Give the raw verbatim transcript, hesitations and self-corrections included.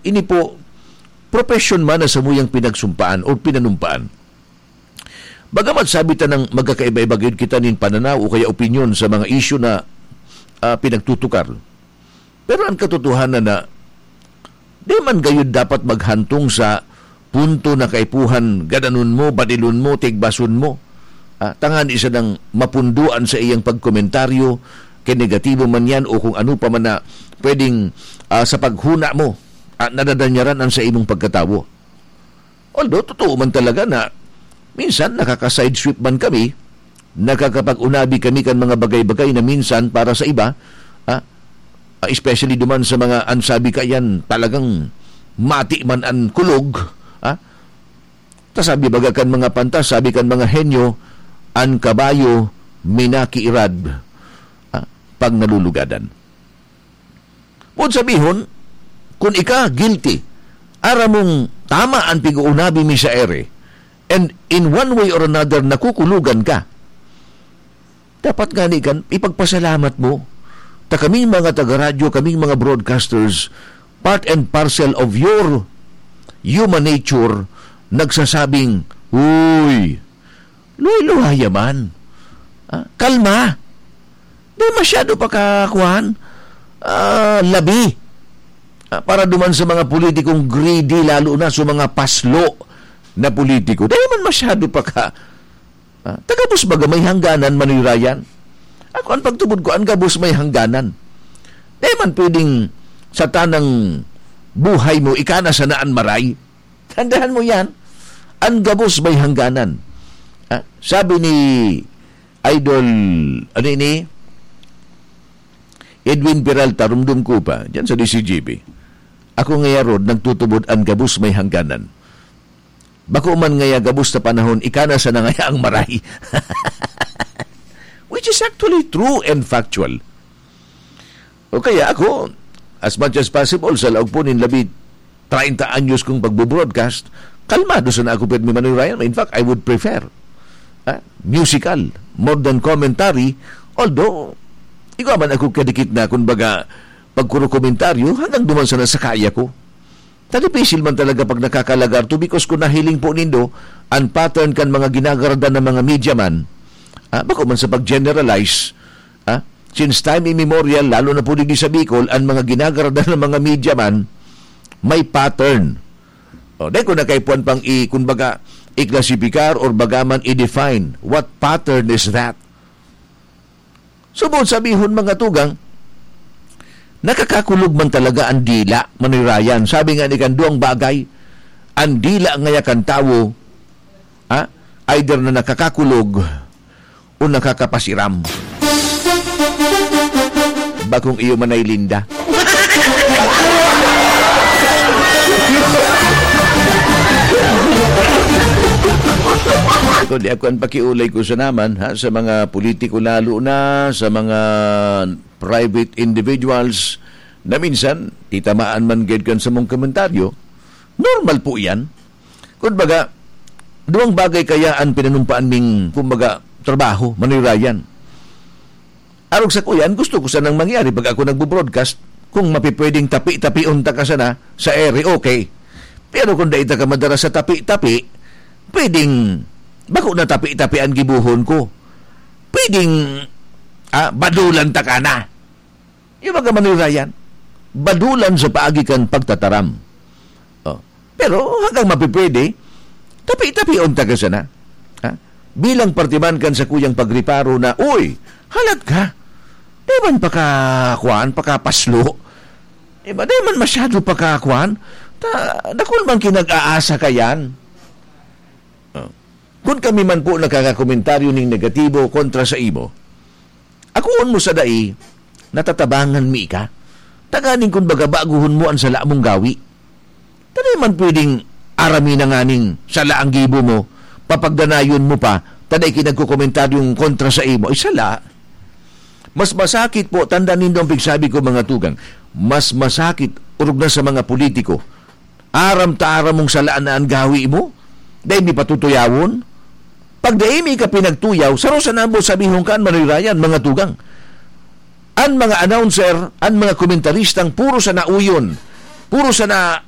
Ini po, profession man na samuyang pinagsumpaan o pinanumpaan. Bagamat sabi ta nang magkakaiba-iba gayud kita nin pananaw o kaya opinyon sa mga isyu na, ah, pinagtutukar. Pero ang katotohanan na, di man gayud dapat maghantong sa punto na kaipuhan, gadanon mo, badilon mo, tigbason mo. Ah, tangani sanang mapundoan sa iyang pagkomentaryo, kay negatibo man yan o kung ano pa man na pwedeng, ah, sa paghuna mo, ah, nadadanyaran ang sa imong pagkatawo. Although, totoo man talaga na minsan nakaka-sideswipe man kami, nakakapag-unabi kami kan mga bagay-bagay na minsan para sa iba, ah, ah, especially duman sa mga, an sabi ka yan, talagang mati man an kulog, ah. Ta sabi baga kan mga pantas, sabi kan mga henyo, "An kabayo minakiirad, ah, pag nalulugadan." Buot sabihon, kun ika guilty, aram mong tama an pig-uunabi mi sa ere, and in one way or another, nakukulugan ka, dapat ngani kan ipagpasalamat mo. Ta kaming mga taga-radyo, kaming mga broadcasters, part and parcel of your human nature, nagsasabing, "Uy, luhay-luhaya man. Ah, kalma. Di masyado pa ka, kuwan, ah, labi." Ah, para duman sa mga politikong greedy, lalo na sa mga paslo na politiko. Di man masyado pa ka, ah, ta gabos baga may hangganan, Manoy Ryan. Ako, an pagtubod ko, an gabos may hangganan. Di man pwedeng sa tanang buhay mo, ika na sana an maray. Tandaan mo yan. An gabos may hangganan. Ah, sabi ni Idol, ano ini? Edwin Peralta, rumdom ko pa, dyan sa D C G B. Ako ngaya, Rod, nagtutubod an gabos may hangganan. Bako man ngaya gabos na panahon, ika na sana ngaya ang maray. Which is actually true and factual. O kaya ako, as much as possible, sa laog po nin labi treinta anyos kong pagbo-broadcast, kalmado sana ako, pirmi, Manoy Ryan. In fact, I would prefer, ah, musical, more than commentary. Although, igwa man ako kadikit na, kumbaga, pagkurokomentaryo, hanggang duman sana sa kaya ko. Ta dipisil man talaga pag nakakalagar to, because kung nahiling po nindo, an pattern kan mga ginagaradan ng mga media man, ah, bako man sa pag-generalize, ah, since time immemorial, lalo na po digdi sa Bicol, an mga ginagaradan ng mga media man, may pattern. O, dahil kung nakaipuan pang i-, kumbaga, i-classify or baga man i-define, what pattern is that? So, buot sabihon, mga tugang, nakakakulog man talaga an dila, Manoy Ryan. Sabi nga ni kan duwang bagay, an dila ngaya kan tawo, ha, either na nakakakulog o nakakapasiram. Bakong iyo man ay linda. Ito, di ako ang pakiulay ko sa naman, ha, sa mga politiko, lalo na sa mga private individuals na minsan titamaan man gid kan samong komentaryo. Normal po iyan. Kumbaga, duwang bagay kaya an pinanumpaan ming, kumbaga, trabaho, Manoy Ryan. Arog sa kuyan, gusto ko sanang mangyari pag ako nagbo-broadcast, kung mapipwedeng tapi-tapion ta ka sana sa ere, okay. Pero kung dai ta ka madara sa tapi-tapi, pwedeng, bako na tapi-tapi an gibohon ko. Pwedeng, ah, badulan ta ka na. Yung mga Manoy Ryan, badulan sa paagi kan pagtataram. Oh. Pero hanggang mapipwede, tapi-tapion ta ka sana. Ha? Bilang parte man kan sakuyang pagreparo na, "Uy, halat ka. Di man pakakuan, pakapaslo. Di ba, di man masyado pakakuan. Ta, dakul man kinag-aasa ka yan." Oh. Kun kami man po nakakakomentaryo ning negatibo kontra sa imo, akoon mo sa dai, natatabangan mi ika. Tanganing kun baga baguhon mo an sala mong gawi. Ta dai man pwedeng arami na nganing sala ang gibo mo, papagdanayon mo pa, ta dai ki nagkokomentaryong kontra sa imo, ay sala. Mas masakit po, tanda nindo ang pigsabi ko, mga tugang, mas masakit, orog na sa mga politiko, aram ta aram mong sala na an gawi mo, dai mi patutuyawon. Pag dai mi ka pinagtuyaw, saro sa nabo sabihon kan Manoy Ryan, mga tugang. An mga announcer, an mga komentaristang puro sana uyon, puro sana